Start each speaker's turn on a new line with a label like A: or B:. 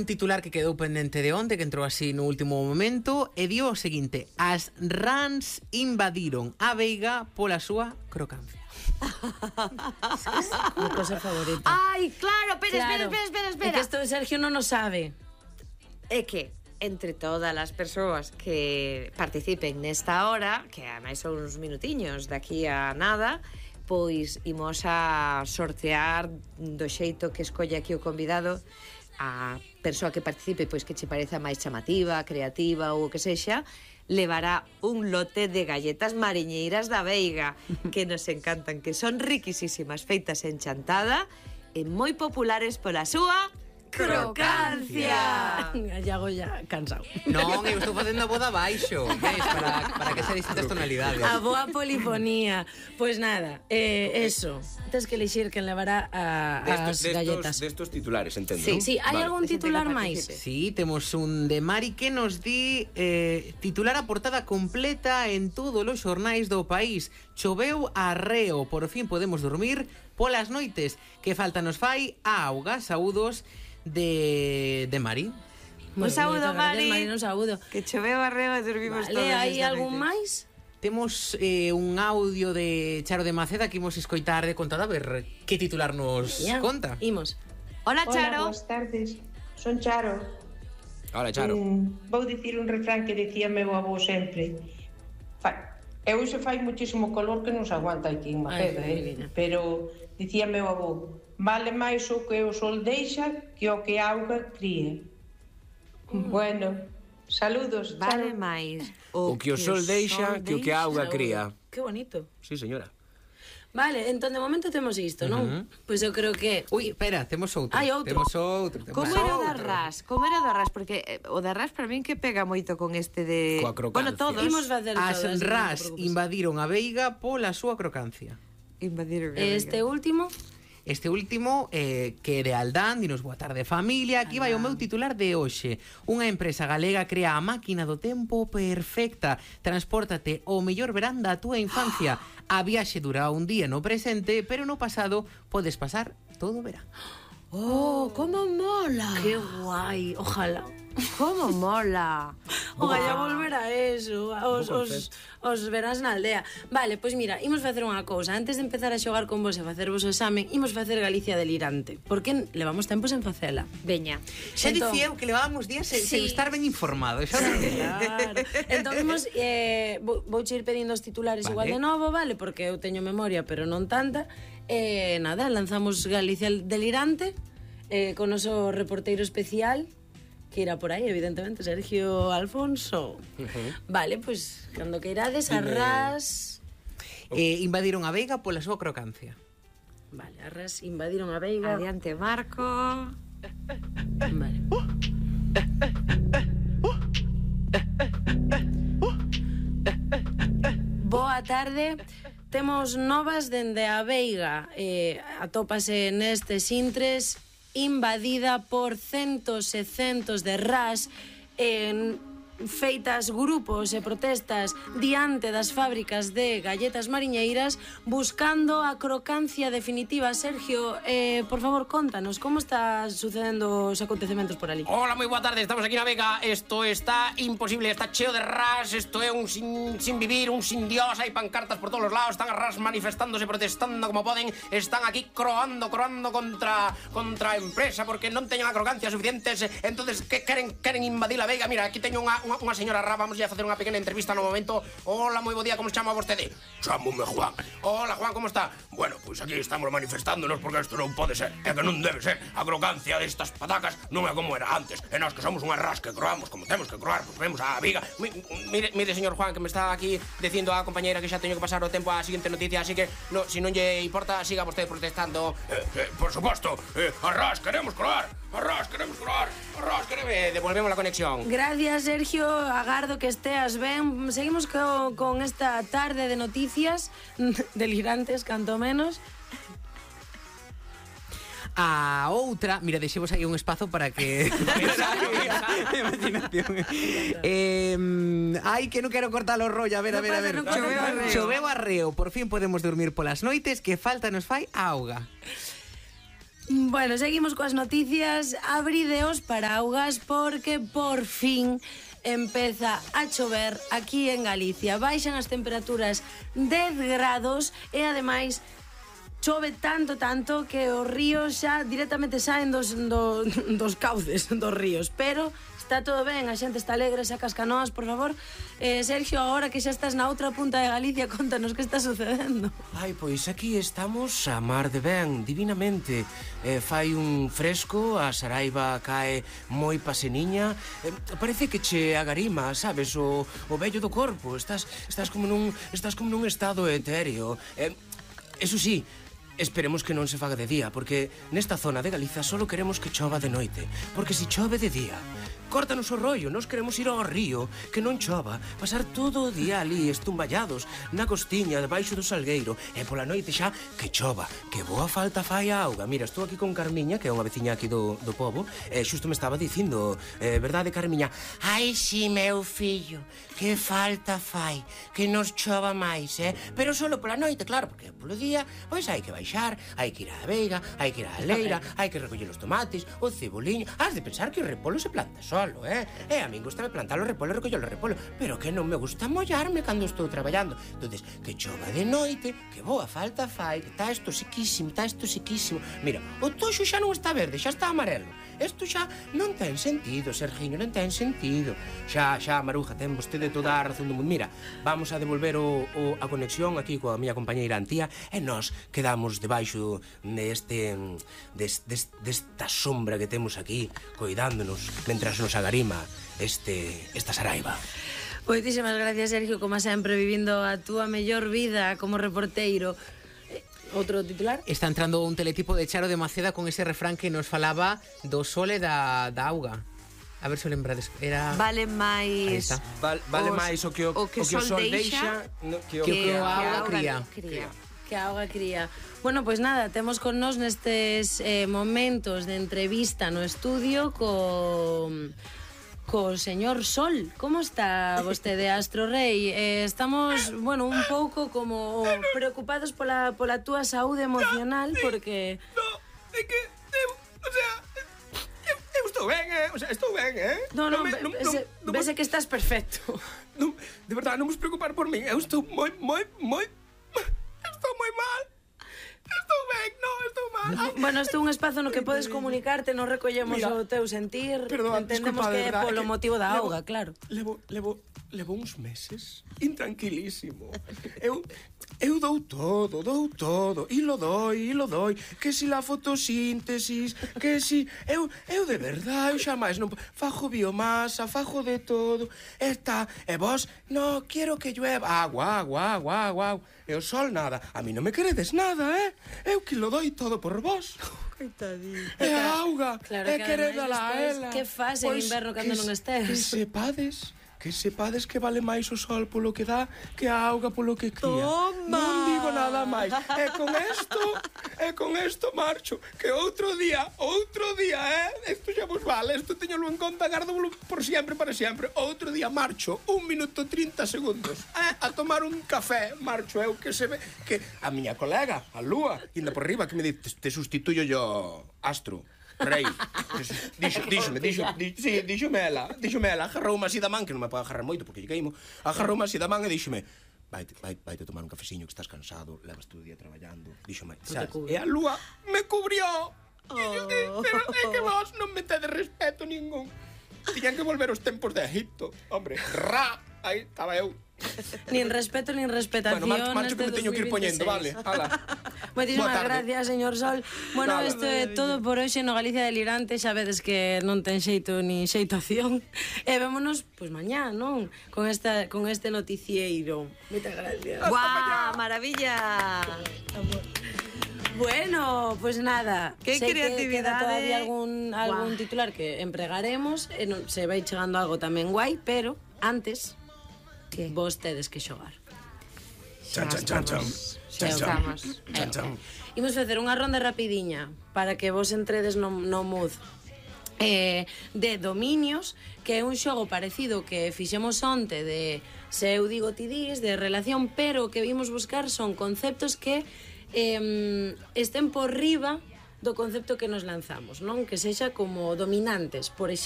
A: titular que quedou pendente de onte, que entrou así no último momento, e dio o seguinte: as rans invadiron a veiga pola súa crocancia.
B: Mi cosa favorita.
C: Ai, claro, pero
B: Claro.
C: espera.
B: É que esto Sergio non o sabe.
C: É que entre todas as persoas que participen nesta hora, que ademais son uns minutiños daqui a nada, pois imos a sortear do xeito que escolle aquí o convidado a persoa que participe, pois que che pareza máis chamativa, creativa ou o que sexa, levará un lote de galletas mariñeiras da Veiga, que nos encantan, que son riquisísimas, feitas en chantada e moi populares pola súa crocancia.
B: Iago ya cansado.
A: Non, eu estou facendo a voz abaixo, ves, para que se distintas tonalidades.
B: A boa polifonía. Pois nada, eso. Tens que elixir quen levará as galletas.
D: Destos titulares, entendo,
C: Sí,
D: non?
B: Sí, hai
D: Vale.
B: algún titular máis?
A: Sí, temos un de Mari que nos di titular a portada completa en todos os xornais do país. Choveu arreo, por fin podemos dormir polas noites. Que falta nos fai a auga, saúdos de Mari.
C: Un saúdo,
B: Moitas gracias,
C: Mari.
B: Un saúdo.
C: Que choveu arreo e dormimos todos.
B: Vale, hai
C: esta
B: algún
C: noite.
B: máis?
A: Temos un audio de Charo de Maceda que imos escoitar de contada a ver que titular nos
B: Ya,
A: conta.
B: Imos.
C: Hola,
E: Hola,
C: Charo.
E: boas tardes. Son Charo.
D: Hola, Charo.
E: Vou dicir un refrán que dicía meu avó sempre. E hoxe fai muchísimo calor que non se aguanta aquí en Maceda,
B: miña.
E: pero dicía meu avó, vale máis o que o sol deixa que o que a auga cría. Bueno, saludos,
C: Vale
E: Charo.
C: máis
D: O que o sol deixa que o que a auga cría.
B: Que bonito.
D: Sí, señora.
B: Vale, entón de momento temos isto, non? Pois eu creo que...
A: Ui, espera, temos outro.
B: Hai outro.
A: Temos outro.
C: Como era o da ras? Como era o da ras? Porque o da ras para min que pega moito con este de...
D: Coa crocancia.
C: Bueno, todos.
B: Imos facer
A: As
B: todas, non te
A: ras
B: preocupes.
A: invadiron a veiga pola súa crocancia.
C: Invadir
B: Este último...
A: Este último, que é de Aldán, dinos boa tarde familia. Aquí vai o meu titular de hoxe. Unha empresa galega crea a máquina do tempo perfecta. Transpórtate ao mellor verán da túa infancia. A viaxe dura un día no presente, pero no pasado podes pasar todo o verán.
C: Oh, como mola.
B: Que guai, ojalá.
C: Como mola.
B: Ojalá volver a eso, os verás na aldea. Vale, pois mira, imos facer unha cousa. Antes de empezar a xogar con vos e facervos o examen, imos facer Galicia delirante, porque levamos tempos en facela.
C: Veña.
A: Xa
B: Entón-
A: dicía eu que levábamos días sen estar ben informado. Xa non sei.
B: Claro. Entón imos vou ir pedindo os titulares
A: Vale.
B: igual de novo, vale, porque eu teño memoria, pero non tanta. Nada, lanzamos Galicia delirante con noso reporteiro especial que irá por aí, evidentemente, Sergio Alfonso. Vale, pois, cando que irades, arras...
A: Invadiron a veiga pola súa crocancia.
B: Vale, arras invadiron a Veiga.
C: Adiante, Marco.
B: Vale. Boa tarde. Temos novas dende a Veiga. Atópase nestes intres invadida por centos e centos de ras feitas grupos e protestas diante das fábricas de galletas mariñeiras buscando a crocancia definitiva. Sergio, por favor, contanos como está sucedendo os acontecementos por ali.
D: Hola, moi boa tarde, estamos aquí na Vega. Isto está imposible, está cheo de ras. Isto é un sin vivir, un sin Dios. Hai pancartas por todos os lados, están as ras manifestándose, protestando como poden. Están aquí croando contra a empresa porque non teñen a crocancia suficientes. Entonces, que queren invadir a Vega. Mira, aquí teño unha señora Ra, vamos a facer unha pequena entrevista no momento. Hola, moi bo día, como se chama vostede? Chámome Juan. Hola, Juan, como está? Bueno, pois aquí estamos manifestándonos porque isto non pode ser, é que non debe ser. A crocancia destas patacas non é como era antes. E nós que somos unha ras que croamos como temos que croar, pois vemos a viga. Mire, señor Juan, que me está aquí dicindo a compañeira que xa teño que pasar o tempo á seguinte noticia, así que se non lle importa, siga vostede protestando. Por suposto, a ras queremos croar. Arras, queremos croar. Arras, queremos... Devolvemos la conexión.
B: Gracias, Sergio. Agardo que esteas ben. Seguimos con esta tarde de noticias delirantes, canto menos.
A: A outra, mira, deixemos aí un espazo para que imaginación. Ai, que non quero cortar o rollo. A ver. Choveu arreo. Por fin podemos dormir polas noites. Que falta nos fai a auga.
B: Bueno, seguimos coas noticias. Abrideos paraugas porque por fin empeza a chover aquí en Galicia. Baixan as temperaturas 10 grados e ademais chove tanto que os ríos xa directamente saen dos cauces dos ríos, pero está todo ben, a xente está alegre, saca as canoas, por favor. Sergio, agora que xa estás na outra punta de Galicia, contanos que está sucedendo.
D: Ai, pois aquí estamos a mar de ben, divinamente. Fai un fresco, a Saraiva cae moi paseniña. Parece que che agarima, sabes, o vello do corpo. Estás como nun estado etéreo. Eso sí, esperemos que non se faga de día, porque nesta zona de Galiza solo queremos que chova de noite. Porque se chove de día, córtanos o rollo, nós queremos ir ao río, que non chova, pasar todo o día ali estumballados na costiña, debaixo do salgueiro, e pola noite xa que chova, que boa falta fai a auga. Mira, estou aquí con Carmiña, que é unha veciña aquí do pobo, e xusto me estaba dicindo, verdade, Carmiña? Ai, si, meu fillo, que falta fai, que nos chova máis, pero solo pola noite, claro, porque polo día, pois hai que baixar, hai que ir á veiga, hai que ir á leira, hai que recoller os tomates, o ceboliño. Has de pensar que o repolo se planta solo, a min gustame plantar o repolo e recoller o repolo, pero que non me gusta mollarme cando estou traballando. Entonces, que chova de noite, que boa falta fai, que está esto sequísimo. Mira, o toxo xa non está verde, xa está amarelo. Isto xa non ten sentido, Sergiño, non ten sentido. Xa, Maruja, ten vostede toda a razón do mundo. Mira, vamos a devolver a conexión aquí coa miña compañeira Antía e nós quedamos debaixo desta sombra que temos aquí, coidándonos, mentras nos agarima esta Saraiva.
B: Moitísimas gracias, Sergio, como sempre, vivindo a túa mellor vida como reporteiro. Outro titular?
A: Está entrando un teletipo de Charo de Maceda con ese refrán que nos falaba do sol e da auga. A ver se o lembrades. Era...
C: Vale máis...
D: Vale máis o que o sol deixa que
A: o auga cría.
B: Que a auga cría. Bueno, pois nada, temos con nós nestes momentos de entrevista no estudio co señor Sol. Como está vostede, Astro Rei? Estamos, bueno, un pouco como preocupados pola túa saúde emocional, porque...
D: No, é que eu estou ben, estou ben,
B: No, vese que estás perfecto.
D: Non, de verdade, non vos preocupar por min, eu estou moi mal. Estou ben, non, estou mal.
B: Bueno, isto é un espazo no que podes comunicarte, non recollemos o teu sentir.
D: Perdón,
B: entendemos
D: disculpa,
B: que é polo motivo da auga, claro.
D: Levo uns meses intranquilísimo. Eu dou todo, e lo doi, que si la fotosíntesis, que si... Eu de verdade, eu xamais non... Fajo biomasa, fajo de todo, e vos, no, quiero que llueva, agua, e o sol nada. A mí non me queredes nada, Eu que lo doi todo por vos.
B: Coitadito.
D: E a auga,
B: claro,
D: e queredala a ela.
B: Que faz en inverno cando non estés?
D: Que sepades que vale máis o sol polo que dá que a auga polo que cría.
B: Toma!
D: Non digo nada máis. E con esto marcho. Que outro día, isto xa vos vale, isto teñolo en conta, gárdolo por sempre, para sempre. Outro día marcho, 1 minuto 30 segundos, a tomar un café, marcho eu, que se ve, que a miña colega, a Lúa, inda por riba, que me di, te sustituyo yo, Astro Rei. Díxome ela, agarroume así da man, que non me pode agarrar moito porque lle caímo, agarroume así da man e díxome: Vaite tomar un cafeciño que estás cansado, levas todo o día traballando. Díxome, sabes? E a Lúa me cubrió. Pero é que vos non me tedes respeto ningún. Tiñan que volver os tempos de Egipto. Hombre, aí estaba eu.
B: Nin respeto, nin respetación.
D: Bueno, marcho que me teño que ir poñendo, vale?
B: Moitísimas gracias, señor Sol. Bueno, isto é todo por hoxe no Galicia Delirante. Xa vedes que non ten xeito ni xeitación. E vémonos, pois, mañá, non? Con este noticieiro. Moitas gracias.
C: ¡Guau! ¡Maravilla!
B: Bueno, pues nada.
C: Qué creatividade.
B: Queda todavía algún titular que empregaremos. Se vai chegando algo tamén guai, pero antes vos tedes que xogar. Imos facer unha ronda rapidiña para que vos entredes no mood de dominios, que é un xogo parecido que fixemos onte de se eu digo ti dis, de relación, pero o que vimos buscar son conceptos que estén por riba do concepto que nos lanzamos, non? Que sexa como dominantes, por exemplo,